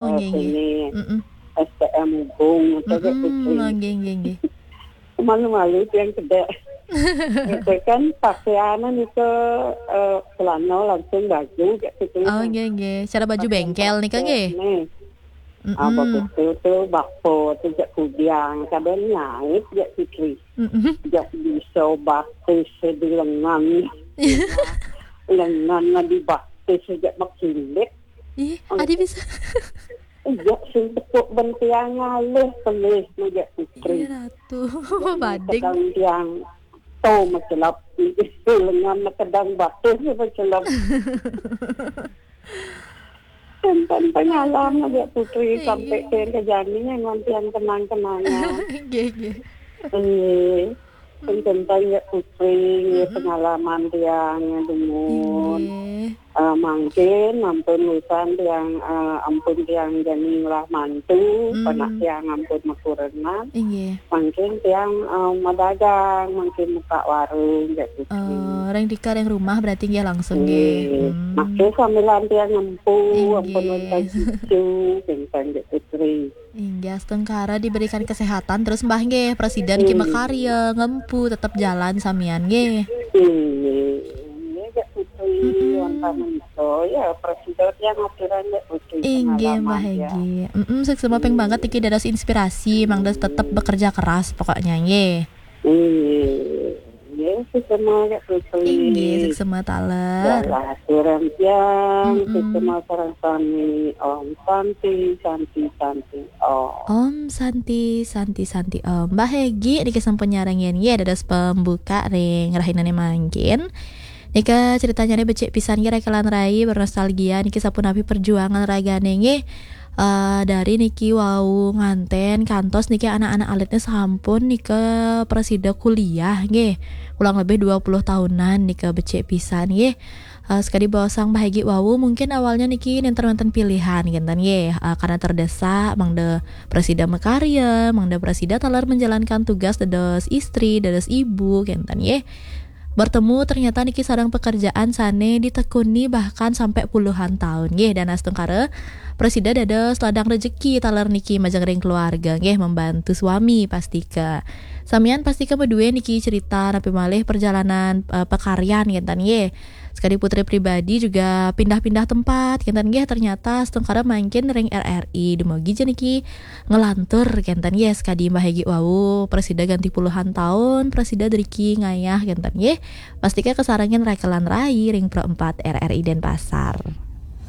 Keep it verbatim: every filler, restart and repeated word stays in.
Oh, nggih, nggih. Ini S T M Ubung, itu, Mbak Putri. Nggih, nggih, nggih. Malu-malu tiang kedek. Itu kan pakaiannya itu, eh, celana langsung baju, kayak gitu. Oh, nggih, nggih. Cara baju bengkel nih, Kak, nggih? Nih. Ah, bagus tu, tu bapa tu jak kudang, kadang nyait jak Putri. Jak bisa batis di lengan. Lengan di batis jak makilit. Ih, adi bisa. Jak sing tepuk bentiang ngalih pelih jak Putri. Iya, Ratu. Bading. Kadang tiang tu macelap. Lengan kadang batis macelap. Tentang pengalaman ya Putri, sampai ke, ke jani yang nanti yang kenang-kenangan. Nggih, nggih. Iya. Tentang ya Putri, pengalaman tiang yang dumun. Nggih. Eh, mungkin ampun wisan tiang, eh, ampun tiang jani lah mantu, panak tiang ampun makurenan. Nggih. Mungkin tiang, eh, madagang, mungkin muka warung, ya Putri. Eh, ring dika ring rumah berarti nggih langsung nggih. Nggih. Masih sambilan tiang ngempu, ampun wonten cucu, tentang ya Putri. Inggih, astungkara diberikan kesehatan terus Mbah nggih, presiden ki makarya, ngempu, tetep jalan samian nggih. Inggih, inggih, Mbak Putri, wonten menika, ya, presiden yang aturan, Mbak Putri, inggih, Mbah pengalaman, ya. Egi. Mm-mm, suksema ping banget iki dados inspirasi, mangda tetep bekerja keras pokoknya nggih. Inggih, inggih, suksema, Mbak Putri. Inggih, suksema taler. Ya, aturan tiang, suksema sareng sami. Om Santi, Santi, Santi. Oh. Om Santi, Santi, Santi Om. Mbah Egi niki sampun nyarengin nggih dados pembuka ring rahinane mangkin. Nika ceritanyane becik pisan nggih, Raka lan Rai, bernostalgia niki sapunapi perjuangan ragane nggih. Eh, dari niki wau nganten kantos niki anak-anak alitnya sampun nika prasida kuliah nggih. Kurang lebih dua puluh tahunan nika becik pisan nggih. Eh, sekadi baosang Mbah Egi wau, mungkin awalnya niki nenten wenten pilihan, kinten nggih. Eh, karena terdesak, mangda prasida makarya, mangda prasida taler menjalankan tugas dados istri, dados ibu, kinten nggih. Bertemu ternyata niki sareng pekerjaan sane ditekuni bahkan sampai puluhan tahun, nggih. Dan astungkara prasida dados ladang rejeki taler niki majeng ring keluarga, nggih, membantu suami pastika. Samian pastika madue niki cerita napi malih perjalanan, eh, pekaryan, kinten nggih. Sekadi Putri pribadi juga pindah-pindah tempat, kinten nggih, ternyata astungkara mangkin ring R R I. Dumugi ja niki ngelantur, kinten nggih, sekadi Mbah Egi wau, prasida ganti puluhan tahun, prasida driki ngayah, kinten nggih. Pastika kasarengin Raka lan Rai ring Pro empat R R I Denpasar.